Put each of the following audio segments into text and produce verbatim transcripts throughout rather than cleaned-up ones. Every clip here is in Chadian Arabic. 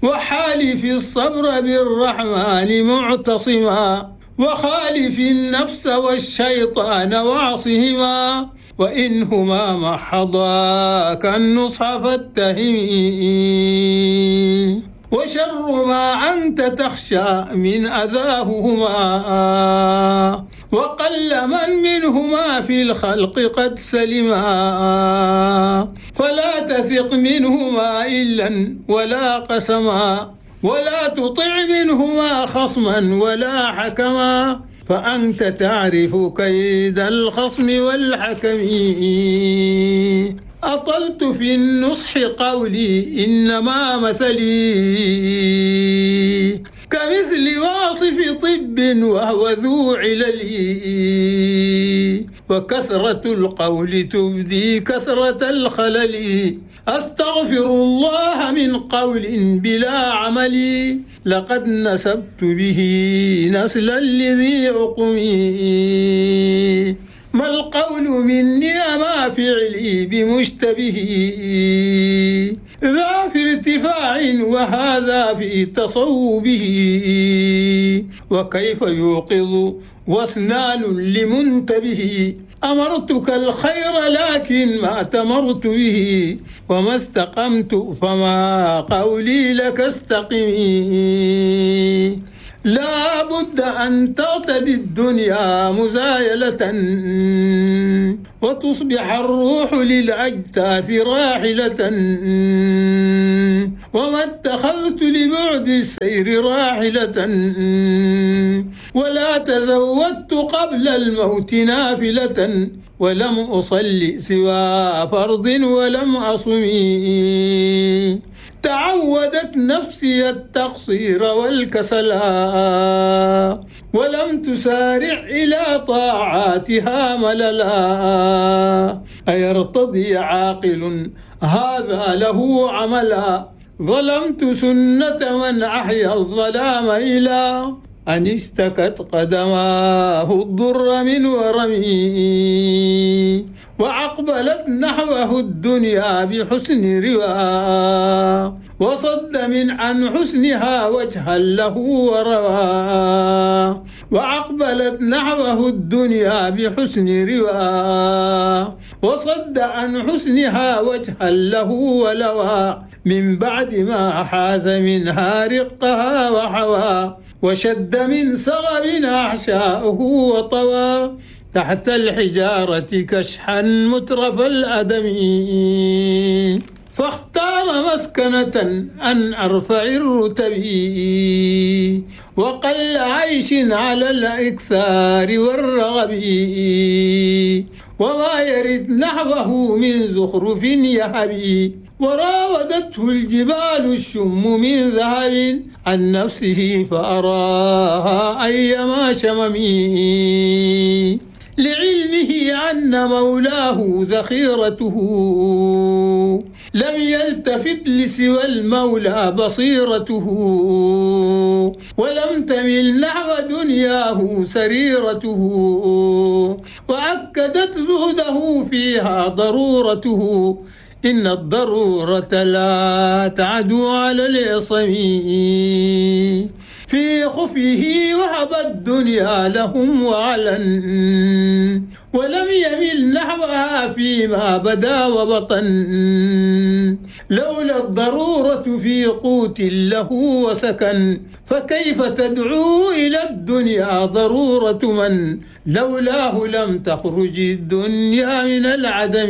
وحالف الصبر بالرحمن معتصما، وخالف النفس والشيطان وعصهما، وإنهما محضاك النصح فاتهمي. وشر ما أنت تخشى من أذاهما، وقل من منهما في الخلق قد سلما. فلا تثق منهما إلا ولا قسما، ولا تطع منهما خصما ولا حكما، فأنت تعرف كيد الخصم والحكم. أطلت في النصح قولي إنما مثلي كمثل واصف طب وهو ذو علل، وكثرة القول تبدي كثرة الخلل. أستغفر الله من قول بلا عمل، لقد نسبت به نسلا لذي عقم. ما القول مني ما فعلي بمشتبه، ذا في ارتفاع وهذا في تصوبه. وكيف يوقظ واسنان لمنتبه، أمرتك الخير لكن ما أتمرت به، وما استقمت فما قولي لك استقمي. لا بد أن تعتدي الدنيا مزايلة، وتصبح الروح للأجداث راحلة. وما اتخذت لبعد السير راحلة، ولا تزودت قبل الموت نافلة، ولم أصل سوى فرض ولم أصمي. تعودت نفسي التقصير والكسلا، ولم تسارع إلى طاعاتها مللا. أيرتضي عاقل هذا له عملا؟ ظلمت سنة من أحيا الظلام إلى أن اشتكت قدماه الضر من ورمي. وأقبلت نحوه الدنيا بحسن رواء، وصد من عن حسنها وجها له وروى. وأقبلت نحوه الدنيا بحسن رواء، وصد عن حسنها وجها له ولوى. من بعد ما حاز منها رقها وحوى، وشد من صغب أحشاؤه وطوى. تحت الحجارة كشحا مترف الأدم، فاختار مسكنة أن أرفع الرتب، وقل عيش على الإكثار والرغب. وما يرد نحوه من زخرف يهبي، وراودته الجبال الشم من ذهب. عن نفسه فأراها أيما شممي، لعلمه أن مولاه ذخيرته، لم يلتفت لسوى المولى بصيرته، ولم تمل نحو دنياه سريرته، وأكدت زهده فيها ضرورته. إن الضرورة لا تعدو على العصم، في خفيه وهب الدنيا لهم وعلن، ولم يمل نحوها فيما بدا وبطن. لولا الضرورة في قوت له وسكن، فكيف تدعو إلى الدنيا ضرورة من لولاه لم تخرج الدنيا من العدم.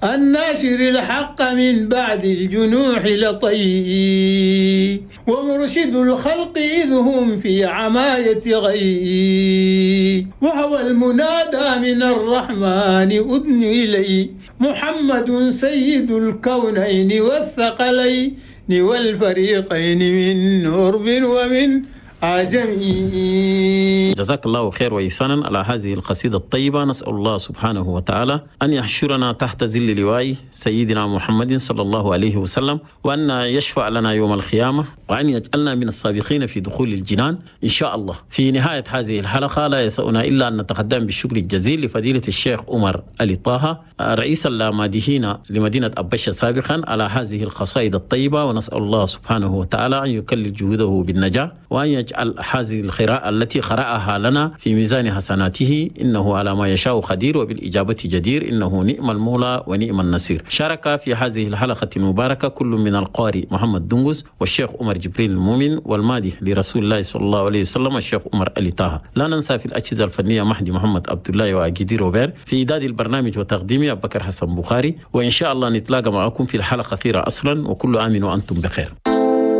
الناشر الحق من بعد الجنوح لطي، ومرشد الخلق إذ هم في عماية غي. وهو المنادى من الرحمن أدن إلي، محمد سيد الكونين والثقلين والفريقين من عرب ومن عجمي. جزاك الله خير وإحسانا على هذه القصيدة الطيبة. نسأل الله سبحانه وتعالى أن يحشرنا تحت ظل لواء سيدنا محمد صلى الله عليه وسلم، وأن يشفع لنا يوم القيامة، وأن يجعلنا من السابقين في دخول الجنان إن شاء الله. في نهاية هذه الحلقة لا يسعنا إلا أن نتقدم بالشكر الجزيل لفضيلة الشيخ عمر علي طه رئيس اللامادحين لمدينة أبشة سابقا على هذه القصائد الطيبة، ونسأل الله سبحانه وتعالى أن يكلل جهوده بالنجاح، وأن يجعل هذه القراءة التي قرأها لنا في ميزان حسناته، إنه على ما يشاء قدير وبالإجابة جدير، إنه نعم المولى ونعم النصير. شارك في هذه الحلقة المباركة كل من القارئ محمد دنجس والشيخ عمر جبريل المؤمن والمادح لرسول الله صلى الله عليه وسلم الشيخ عمر علي طه. لا ننسى في الأجهزة الفنية مهدي محمد عبد الله وأجدي روبير، في إعداد البرنامج وتقديمه أبو بكر حسن بخاري. وإن شاء الله نتلاقى معكم في الحلقة الأخيرة أصلا، وكل عام وأنتم بخير.